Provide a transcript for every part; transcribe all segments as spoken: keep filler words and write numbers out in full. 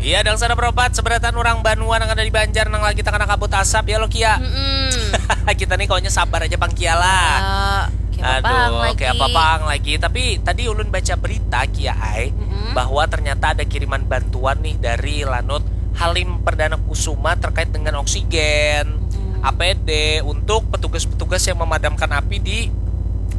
Iya, Dangsana Perompat, seberataan urang banua nang ada di Banjar nang lagi takana kabut asap ya lo, Kia. Mm-mm. Kita nih kaunya sabar aja pang, Kia lah. Ya, kayak apa Aduh, lagi? Kayak apa pang lagi. Tapi tadi ulun baca berita, Kia ai, Mm-mm. bahwa ternyata ada kiriman bantuan nih dari Lanut Halim Perdana Kusuma terkait dengan oksigen, Mm-mm. A P D untuk petugas-petugas yang memadamkan api di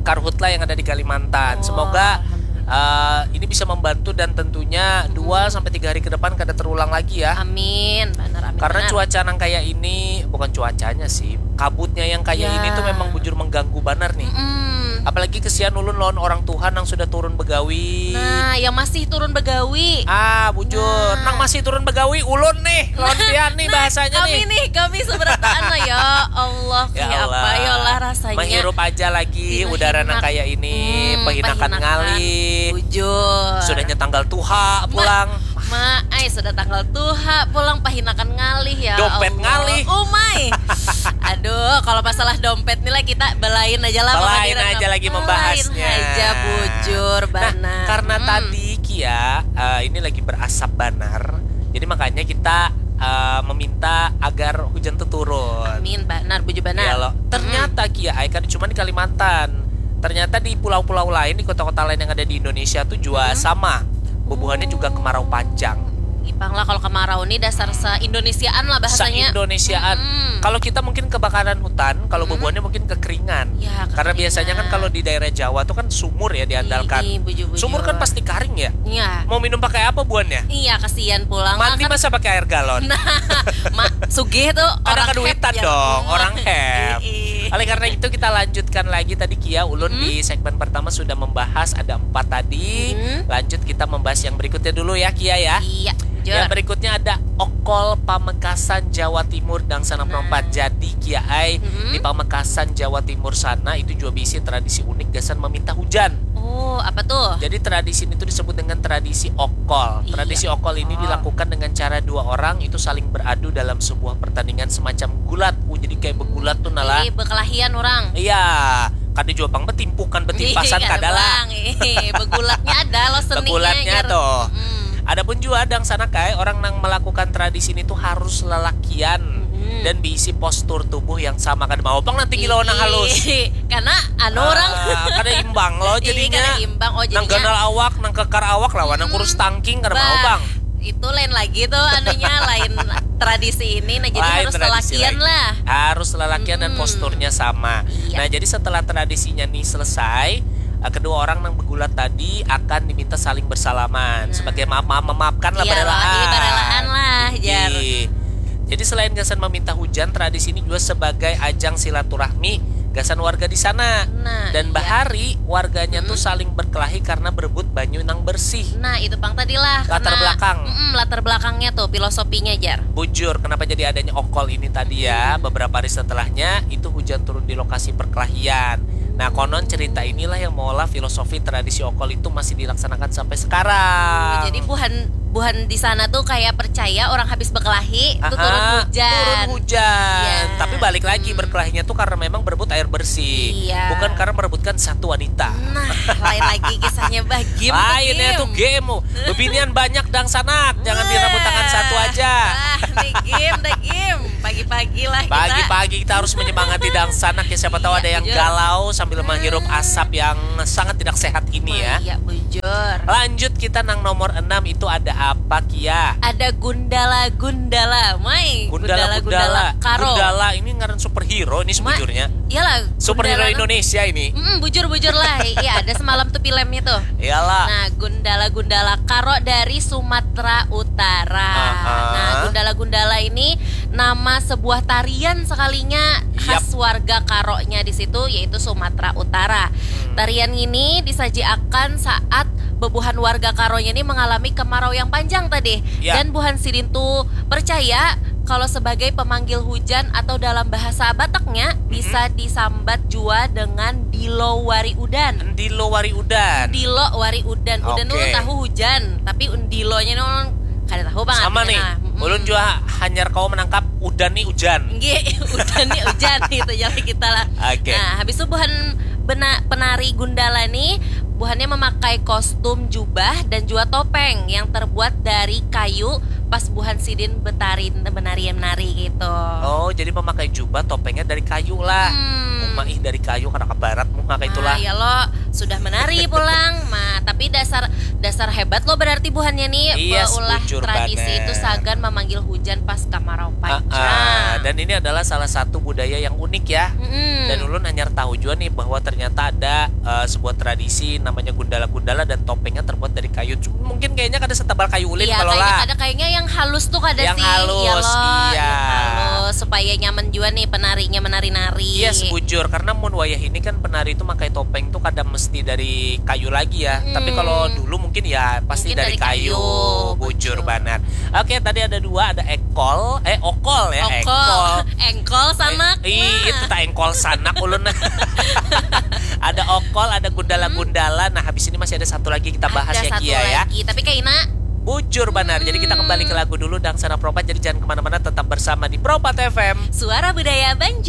karhutla yang ada di Kalimantan. Oh, Semoga alhamdulillah. eh, ini bisa membantu dan tentunya Mm-mm. dua sampai tiga hari ke depan kada terulang lagi ya. Amin, benar, amin. Karena Benar. Cuaca nang kayak ini, bukan cuacanya sih, kabutnya yang kayak Ya. Ini tuh memang bujur mengganggu banar nih. Mm-mm. Apalagi kesian ulun lawan orang tuha nang sudah turun begawi. Nah, yang masih turun begawi. Ah, bujur. Nah. Nang masih turun begawi, ulun nih. Lawan pian nih Nah, bahasanya kami nih. nih, kami seberataan lah ya. Allah, Ya kayak apa Allah. Ya Allah rasanya. Menghirup aja lagi Gila, udara nang hinak. kayak ini, Hmm, pahinakan pahinakan. Ngalih. Bujur. Sudahnya tanggal tuha pulang. Ma, ai sudah tanggal tuha pulang, pahinakan ngalih ya Dompet Allah. Ngalih. Umai. Aduh, kalau masalah dompet nih lah kita belain aja lah. Belain Pengadilan aja Ham. lagi Belain membahasnya. Aja bujur Nah, banar. Karena Hmm. tadi Kia eh, ini lagi berasap banar, jadi makanya kita eh, meminta agar hujan tuh turun. Amin, banar, bujur banar. Ya lo. Ternyata Kia ai kada cuma di Kalimantan. Ternyata di pulau-pulau lain, di kota-kota lain yang ada di Indonesia tuh juga Hmm. sama. Bubuhannya juga kemarau panjang. Ipang lah, kalau kemarau nih dasar se-Indonesiaan lah bahasanya. Se-Indonesiaan. Mm-mm. Kalau kita mungkin kebakaran hutan, kalau Mm-mm. Bubuhannya mungkin kekeringan. Ya, Karena biasanya kan kekeringan. Kalau di daerah Jawa tuh kan sumur ya diandalkan. Ih, bujur-bujur. Sumur kan pasti karing ya. Iya. Mau minum pakai apa buannya? Iya, kesian pulang. Mandi Kan masa pakai air galon? Nah, ma, sugih tuh Kada orang kaduitan heb, ya. Dong, Hmm. Orang heb. Ih, ih. Oleh karena itu kita lanjutkan lagi tadi Kia, ulun Hmm. Di segmen pertama sudah membahas ada empat tadi. Hmm. Lanjut kita membahas yang berikutnya dulu ya Kia ya. Iya, bujur. Yang berikutnya ada Okol Pamekasan Jawa Timur Dangsana Perompat. Nah. Jadi Kia ai Hmm. Di Pamekasan Jawa Timur sana itu juga bisi tradisi unik gasan meminta hujan. Oh, apa tuh? Jadi tradisi ini tuh disebut dengan tradisi okol. Iya. Tradisi okol ini Oh. dilakukan dengan cara dua orang itu saling beradu dalam sebuah pertandingan semacam gulat. Uh, jadi kayak begulat tuh nalah. Ih, bekelahian orang. Iya, kada jua pang betimpukan betimpasan Ih, kada lah. Bang. Ih, begulatnya ada loh seninya. Begulatnya Jar. Tuh. Hmm. Adapun jua Dangsana Kai, orang nang melakukan tradisi ini tuh harus lelakian Hmm. dan diisi postur tubuh yang sama, kada mau pang nanti gila nang halus. Ih, karena anu orang Ah, kada imbang lo Ih, jadinya. kada imbang. Oh, Nang jadinya ganal awak, nang kekar awak lawan nang Hmm. kurus tangking kada mau Bah, bang. Itu lain lagi tuh anunya, lain tradisi ini. Nah, jadi Lain harus tradisi lelakian lain. Lah. Harus lelakian dan Hmm. Posturnya sama. Iya. Nah, jadi setelah tradisinya nih selesai, eh, kedua orang nang begulat tadi akan diminta saling bersalaman Nah. sebagai maaf maaf memaafkan lah Iya, barelaan. Iya, barelaan lah, jar. Iya. Jadi selain gasan meminta hujan, tradisi ini juga sebagai ajang silaturahmi gasan warga di sana. Nah, Dan iya. Bahari warganya tuh Mm-mm. saling berkelahi karena berebut banyu nang bersih. Nah, itu pang tadi lah. Latar Karena- belakang. Mm-mm, latar belakangnya tuh, filosofinya, jar. Bujur, kenapa jadi adanya okol ini tadi ya? Hmm. Beberapa hari setelahnya itu hujan turun di lokasi perkelahian. Nah, konon cerita inilah yang mengolah filosofi tradisi okol itu masih dilaksanakan sampai sekarang. Jadi buhan buhan di sana tuh kayak percaya orang habis berkelahi itu Aha, turun hujan. Turun hujan. Iya. Tapi balik lagi Hmm. Berkelahinya tuh karena memang berebut air bersih, Iya. Bukan karena merebutkan satu wanita. Nah, lain lagi kisahnya, bah. Game tuh Lainnya game. Tuh game. Bebinian banyak Dangsanak. Jangan Wah. Direbutakan satu aja. Ah, nih game, dah game. Pagi-pagi lah kita. Pagi-pagi kita harus menyemangati Dangsanak ya. Siapa tahu Iya, ada yang bujur. Galau sambil menghirup Hmm. Asap yang sangat tidak sehat ini ya. Iya, bujur. Lanjut kita nang nomor enam itu ada apa, Kia? Ada gundala-gundala, mai. Gundala-gundala. Karo. Gundala ini ngaran superhero ini sebujurnya. Iyalah. Superhero Gundala. Indonesia ini. Mm, bujur-bujur lah. Iya, ada semalam tuh filmnya tuh. Iyalah. Nah, gundala-gundala Karo dari Sumatera Utara. Aha. Nah, gundala-gundala ini nama sebuah tarian sekalinya khas warga Karonya di situ, yaitu Sumatera Utara. Hmm. Tarian ini disajiakan saat bebuhan warga Karonya ini mengalami kemarau yang panjang tadi. Ya. Dan buhan sidin tu percaya kalau sebagai pemanggil hujan atau dalam bahasa Bataknya hmm. bisa disambat jua dengan dilo wari udan. Dilo wari udan. Dilo wari udan. Udan okay. Ulun tahu hujan, tapi dilonya ulun kada tahu banget. Sama nih. Nah, mm. Ulun jua hanyar kawa menangkap udan nih hujan. Nggih, udan nih hujan gitu ya kita lah. Oke. Okay. Nah, habis itu buhan bena, penari gundala nih buhannya memakai kostum jubah dan juga topeng yang terbuat dari kayu pas buhan sidin betari menari menari gitu. Oh, jadi memakai jubah topengnya dari kayu lah. Hmm. Uma ih dari kayu karena ke barat muha kayak itulah. Ah, ya lo sudah menari pulang, ma tapi dasar dasar hebat lo berarti buhannya nih Iya, beulah bujur tradisi banar. Itu sagan memanggil hujan pas kamarau Ah, panjang. ah. Dan ini adalah salah satu budaya yang unik ya. Mm-mm. Dan ulun hanyar tahu juga nih bahwa ternyata ada eh, sebuah tradisi namanya gundala-gundala dan topengnya terbuat dari kayu. Cuma mungkin kayaknya kada setebal kayu ulin Iya, kalau kayaknya lah. Ada kayaknya yang halus tuh kada Yang sih. halus, Iya loh, iya. Yang halus supaya nyaman juga nih penarinya menari-nari. Iya, sebujur karena mun wayah ini kan penari itu pakai topeng tuh kada mesti dari kayu lagi ya. Mm-mm. Tapi kalau dulu mungkin ya pasti Mungkin dari, dari kayu. kayu, Bujur bujur. Banar. Oke, tadi ada dua, ada ekol, eh okol ya, Okol, ekol. Engkol sanak. Eh, ih, Nah. itu tak engkol sanak ulun. Ada okol, ada gundala-gundala. Nah, habis ini masih ada satu lagi kita bahas Ada ya satu Kia ya. Lagi, tapi Kaina Bujur Banar. Jadi kita kembali ke lagu dulu Dangsana Propat. Jadi jangan kemana-mana, tetap bersama di Propat F M. Suara Budaya Banjar.